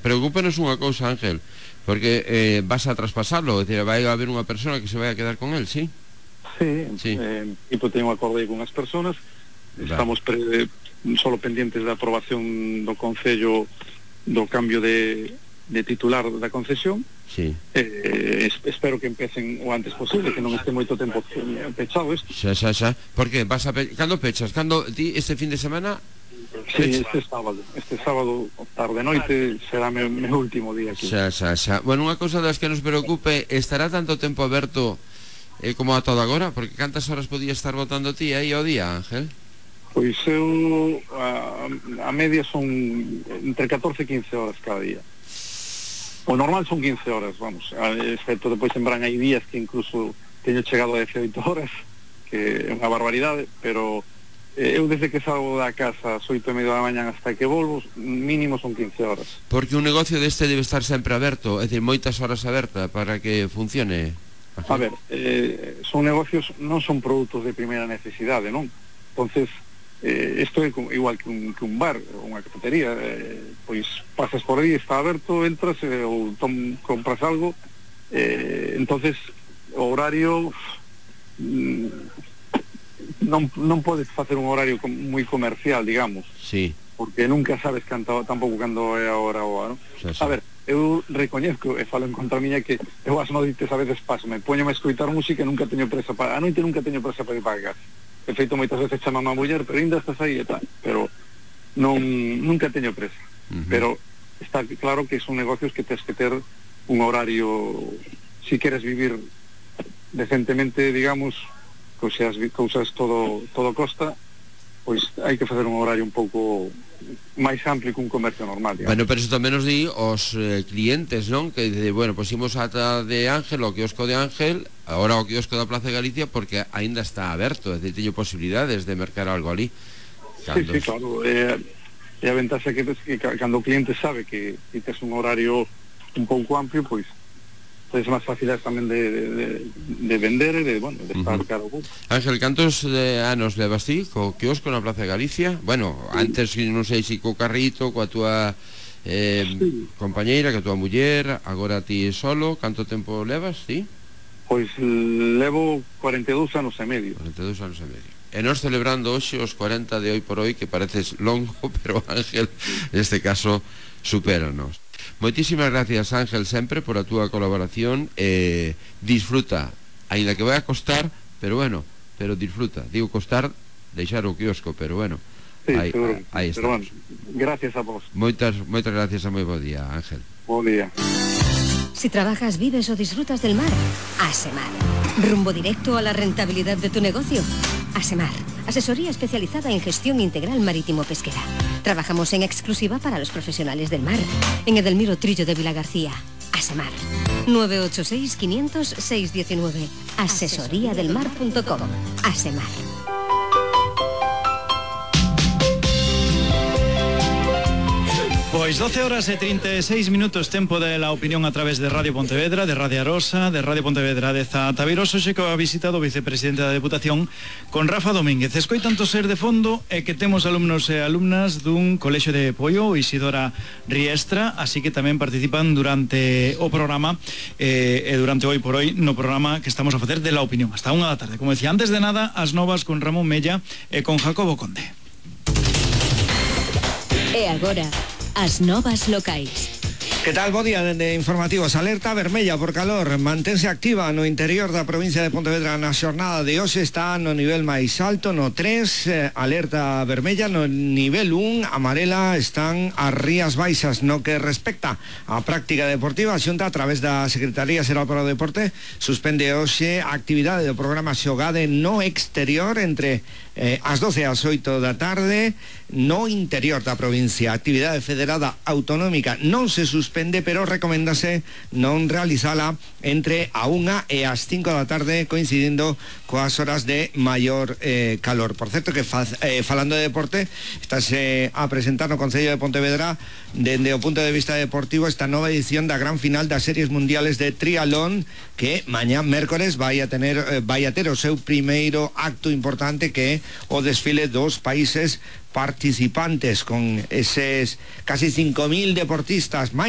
Preocúpenos unha cousa, Ángel, porque vas a traspasarlo, é dicir, vai a haber unha persona que se vai a quedar con él, sí? Sí. Tipo, teño un acorde con as personas, estamos solo pendientes da aprobación do Concello do cambio de titular da concesión. Sí. Espero que empecen o antes posible, que non este moito tempo pechado isto. Xa. Por que? Cando pechas? Cando ti este fin de semana? Sí, este sábado tarde noite será meu último día aquí. Xa. Bueno, unha cousa das que nos preocupe, estará tanto tempo aberto como a todo agora? Porque cantas horas podías estar botando ti aí ao día, Ángel? Pois eu a media son entre 14 e 15 horas cada día. O normal son 15 horas, vamos, excepto depois en verán hai días que incluso teño chegado a 18 horas, que é unha barbaridade, pero eu desde que salgo da casa ás 8:30 da mañá hasta que volvo, mínimo son 15 horas. Porque un negocio deste debe estar sempre aberto, é dicir, moitas horas aberta para que funcione. A ver, son negocios, non son produtos de primeira necesidade, non? Entonces, isto é igual que un bar ou unha cafetería, pois pasas por aí, está aberto, entras ou compras algo, entonces o horario non podes facer un horario moi comercial, digamos. Sí. Porque nunca sabes tampouco cando é a hora ou a, non? A ver, eu recoñezco e falo en contra miña que eu as noites a veces paso, me poño a escoitar música e nunca teño presa a noite nunca teño presa para ir para casa. De feito, moitas veces chama a muller, pero ainda estás aí e tal, pero nunca teño presa. Pero está claro que son negocios que tens que ter un horario, si queres vivir decentemente, digamos, cousas todo costa, pois hai que facer un horario un pouco máis amplio que un comercio normal, digamos. Bueno, pero isto tamén nos di os clientes, non? Que dice, bueno, pues imos ata de Ángel, o quiosco de Ángel, agora o quiosco da Plaza de Galicia, porque aínda está aberto, é dicir, teño posibilidades de mercar algo ali. Sí, claro, e a ventaxa que cando o cliente sabe que tes un horario un pouco amplio, pois é máis fácil tamén de vender e de estar caro. Ángel, cantos anos levas ti co quiosco na Plaza de Galicia? Bueno, antes non sei se co carrito, coa túa compañeira, coa túa muller, agora ti solo, canto tempo levas, ti? Pois levo 42 anos e medio. 42 anos e medio. E nós celebrando hoxe os 40 de hoy por hoy, que pareces longo, pero Ángel, neste caso, supéranos. Moitísimas gracias, Ángel, sempre por a túa colaboración. Disfruta, aínda que vai a costar, pero bueno, pero disfruta. Digo costar, deixar o quiosco, pero bueno, sí, aí estamos. Bueno, gracias a vos. Moitas gracias e moi bo día, Ángel. Bo día. Si trabajas, vives o disfrutas del mar, Asemar. Rumbo directo a la rentabilidad de tu negocio. Asemar, asesoría especializada en gestión integral marítimo-pesquera. Trabajamos en exclusiva para los profesionales del mar. En Edelmiro Trillo de Vilagarcía. Asemar. 986 500 619. Asesoriadelmar.com. Asemar. Pois 12 horas e 36 minutos, tempo de la opinión a través de Radio Pontevedra, de Radio Arosa, de Radio Pontevedra de Zataviroso, xe que ha visitado o vicepresidente da Deputación con Rafa Domínguez. Escoitan toser de fondo e que temos alumnos e alumnas dun colexio de Poio, Isidora Riestra, así que tamén participan durante o programa e durante hoy por hoy no programa que estamos a facer de la opinión, hasta 1 da tarde. Como decía, antes de nada, as novas con Ramón Mella e con Jacobo Conde. E agora, as novas locais. Que tal, bo día dende Informativos. Alerta vermella por calor mantense activa no interior da provincia de Pontevedra na xornada de hoxe, está no nivel máis alto, no 3, alerta vermella no nivel 1, amarela están as rías baixas. No que respecta á práctica deportiva, a Xunta, a través da Secretaría Xeral para o Deporte, suspende hoxe a actividade do programa Xogade no exterior entre as 12 e as 8 da tarde no interior da provincia. A actividade federada autonómica non se suspende, pero recomendase non realizala entre a 1 e as 5 da tarde, coincidindo coas horas de maior calor. Por certo que falando de deporte, estáse a presentar no Concello de Pontevedra, dende o punto de vista deportivo, esta nova edición da gran final das series mundiales de triatlón, que mañá mércores vai a ter o seu primeiro acto importante, que é o desfile dos países participantes, con eses casi 5.000 deportistas.